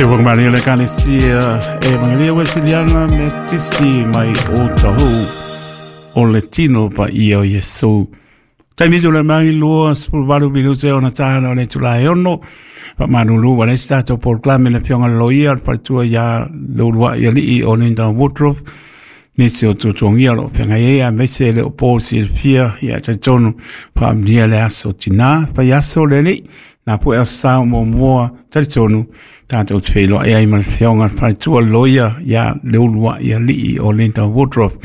Se ua malia le Ekalesia Evangelia Wesiliana Metisi mai Otahuhu o le tino paia o Iesu. Taimi tula mai 28 minute ona tāna o le itula e 6. Faamalulu ua leai se tatou polokalame le Afioga i le Loia, le Faletua ia Leuluai Alii o Linda Woodruff, nisi o tuatuagia o lo o feagai ai, aemaise e le o po silafia, ia talitonu faamanuia le aso tinā, fai aso le alii, nā poe aso sa o muamua, talitonu tatou te feiloai ai ma le Afioga i le Faletua le Loia ia Leuluai Alii o Linda Woodruff.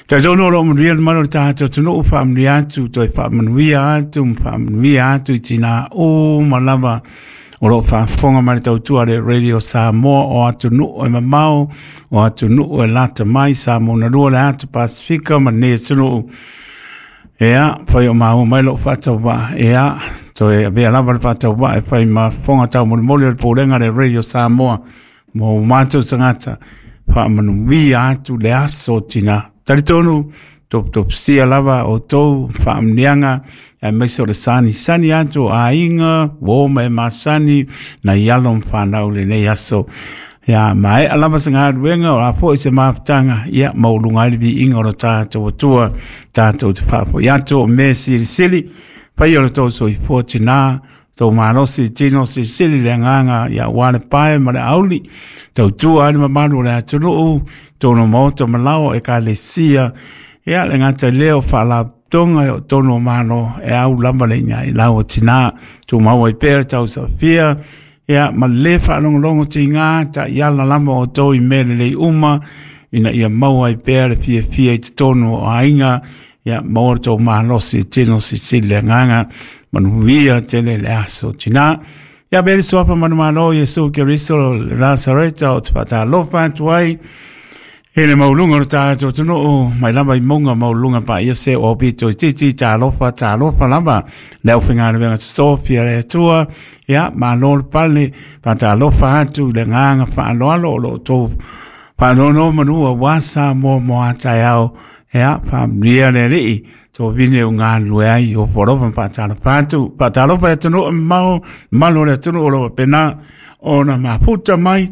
Talitonu o lo o manuia le malu o le tatou atunuu, faamanuia atu, toe faamanuia atu, ma faamanuia atu i tinā uma lava o lo o faafofoga mai le tautua le Radio Samoa o atunuu e mamao, o atunuu e lata mai, Samoa na lua le atu Pasifika ma lenei atunuu. Ea, fai o maua mai lou faatauvaa, ea, toe avea lava le faatauvaa e fai ma fofoga taumolimoli o le Pulega le Radio Samoa mo matou tagata, faamanuia atu le aso tina. Talitonu, toputopisia lava outou faamanuiaga, aemaise o le sanisani atu o aiga, uo ma e masani, nai alo ma fanau i lenei aso. Ia, maea lava se galuega, o a foi se mafutaga, ia, maualuga ai le viiga o lo tatou Atua, tatou te faafoi atu o mea silisili, faia o le tou soifua tinā, tou malosi tino silisili le agaga, ia aua le pae ma le auli, tautua ai le mamalu o le atunuu, tonu o maota ma laoa ekalesia, ia le gata i lea o faalapotopotoga o tonu o Malo, e au lava le iga i lau o tinā, tumau ai pea le tausafia, ia ma le faalogologo tiga taiala lava outou i mea lelei uma, ina ia maua ai pea le fiafia i totonu o aiga, ia maua le tou malosi tino silisili le agaga, manuia tele le aso tinā. Ia avea le suafa manumalo o Iesu Keriso le Nasareta ou te faatalofa atu ai i le maualuga o le tatou atunuu, mai lava i mauga maualuluga paia se o pito itiiti, talofa, talofa lava le aufaigaluega totofi a le Atua. Ia, malo le pale, faatalofa atu i le agaga faaaloalo o lo o outou faanonomanu aua Samoa mo a taeao. Ia, faamanuia le Alii, tovine o galulue ai, o alofa ma faatalofa atu, faatalofa i atunuu e mamao, mamalu o le atunuu o lo o faapena ona mafuta mai,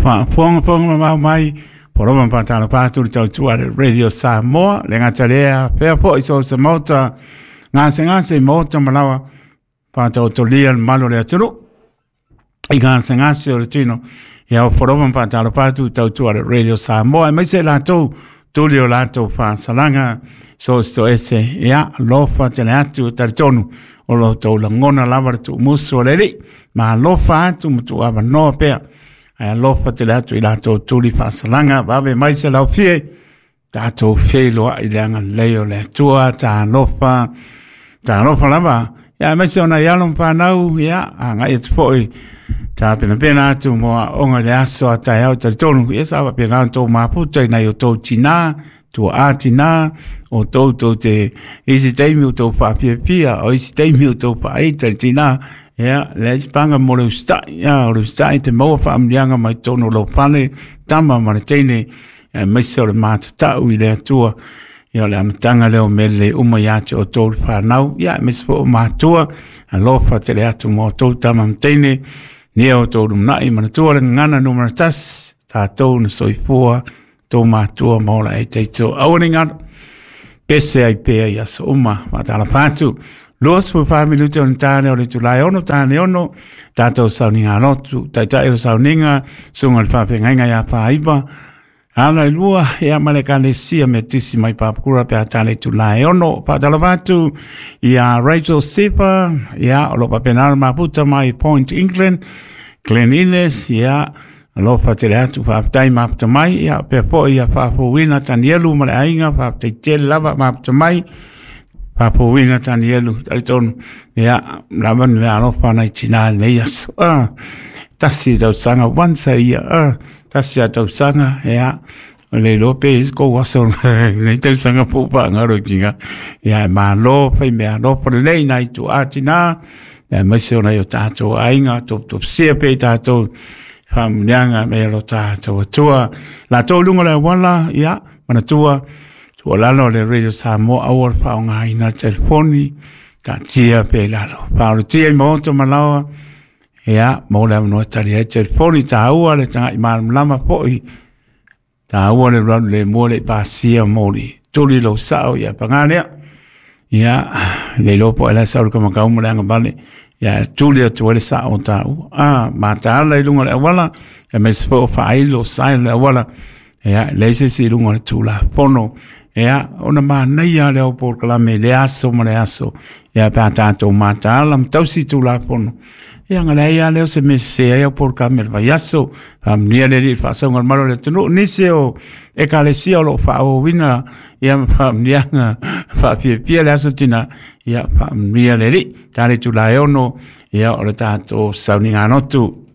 faafogafoga mamao mai, alofa ma faatalofa atu le tautua a le Radio Samoa, le gata lea, fea foi so o se maota, gasegase i maota ma laoa, faataotolia le mamalu o le atunuu i gasegase o le tino. Ia o alofa ma faatalofa atu i tautua a le Radio Samoa, aemaise latou tuli o latou faasalaga so so ese. Ia alofa tele atu, talitonu o lo outou lagona lava le tuumusu o le Alii, ma alofa atu ma tuuavanoa pea. Ae alofa tele atu i latou tuli faasalaga, vave mai se laufie, tatou feiloai i le agalelei o le Atua, talofa, talofa lava. Ia, aemaise o nai alo ma fanau, ia, agai atu foi, tapenapena atu mo aoga i le aso a taeao talitonu, ia sa faapena ona tou mafuta i nai o tou tinā, tuaa tinā, o tou tou te, isi taimi o tou faafiafia, o isi taimi o tou faaita i tinā, ia, leai se paga mo le usitai, ia, o le usitai te maua faamanuiaga mai totonu o lou fale, tama ma le teine, aemaise o le matatau i le Atua. Ia o le amataga lea o mea lelei uma ia te outou le fanau, ia aemaise foi o matua, alofa tele atu ma outou tama ma teine, nia outou lumanai, manatua le gagana numera 1, tatou na soifua, tou matua ma ola e teito. Aua ne i galo, pese ai pea i aso uma, faatalofa atu. 24 minute o le tāne o le itula e 6, tāne 6, tātou sauniga lotu, taitai o sauniga, susuga i le faafeagaiga ia Pāiva, ala i lua, ia ma le ekalesia Metisi mai Papakura pe a tāne itula e 6. Faatalofa atu ia Rachel Sipa, ia o lo o faapena ona mafuta mai Point England, Glen Innes, ia alofa tele atu, faafetai mafuta mai, ia pea foi ia Faafouina Tanielu ma le aiga, faafetai tele lava mafuta mai, Faafouina Tanielu, talitonu, ia lava ni mea alofa nai tinā i lenei aso. Tasi tausaga, once a year, tasi a tausaga, ia, o le iloa pe i se kou aso lenei tausaga po o faagalo i tinā. Ia, e malo, fai mea alofa lelei nai tuaa tinā, aemaise o nai o tātou aiga, toputopisia pea i tātou faamanuiaga me lo tātou Atua. Latou i luga o le auala, ia, manatua, tuualalo le Radio Samoa, aua le faaaogaina le telefoni, taatia pea i lalo. Faaolotia i maota ma laoa, Ia, mo le avanoa e tali ai telefoni, taua le taga'i malamalama fo'i, taua le alualu lemu e le i pasia moli tuli lou sa'o. Ia pagā lea, ia le iloa po o ai la e sau i le kamakau ma le agavale, ia e tuli atu ai le sa'o o taua a mataala i luga o le auala, aemaise foi o faailo sa i le auala. Ia, e leai se isi i luga o le Tulafono. Ia, ona manaia lea o polokalame i le aso ma le aso, ia pe a tatou mataala ma tausi Tulafono. Ia na leai lava lea o se mea sese ai au polokalame i le vaiaso. Faamanuia le Alii i le faasaoga o le malu o le atunuu, nisi o ekalesia o lo o faaauauina ia ma faamanuiaga faafiafia le aso tina. Ia faamanuia le Alii. Ta le itula e 6, ia o le tatou sauniga lotu.